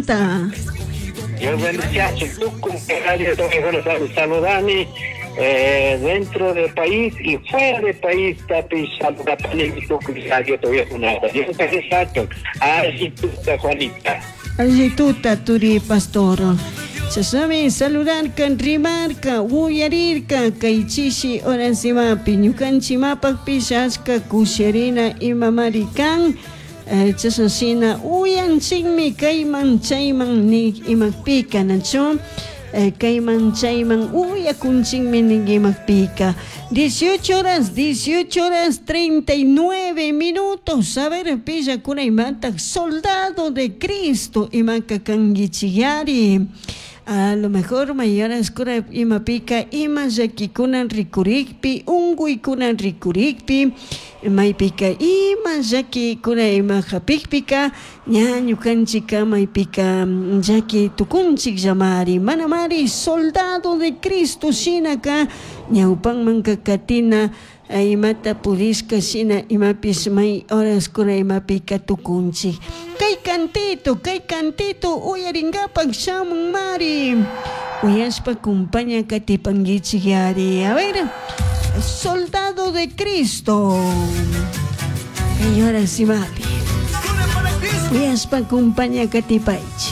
kanta. Dios bendice tukuy radio saludani dentro del país y fuera del país tapi saludapani tukuy radio todavía Dios bendice Alli tuta Juanita. Alli tuta turi pastor. Chashnami saludarka, rimarka, uyarirka kay chishi horas imapi ñukanchimapakpish achka kusharina imamari kan. Chashna shina uyanchikmi kayman chayman nik imakpika nachu kayman chayman uyakunchikmi nik imakpika. 18 horas, 18 horas 39 minutos. A ver, pillakuna imatak soldado de Cristo imaka kankichiyari. A lo mejor mayoras kura imapika ima llakikunan rikurikpi unkuykunan rikurikpi maypika ima llakikuna ima hapikpika ña ñukanchika maypika llaki tukunchik llamari manamari soldado de Cristo shinaka ñawpanmanka katina imata pudishka shina imapish may horas kuna imapika tukunchik. Kay cantito uyarinkapak shamun mari uyashpa kumpaña katipankichik yari. A ver, soldado de Cristo. Kay horas imapi uyashpa kumpaña katipaychik.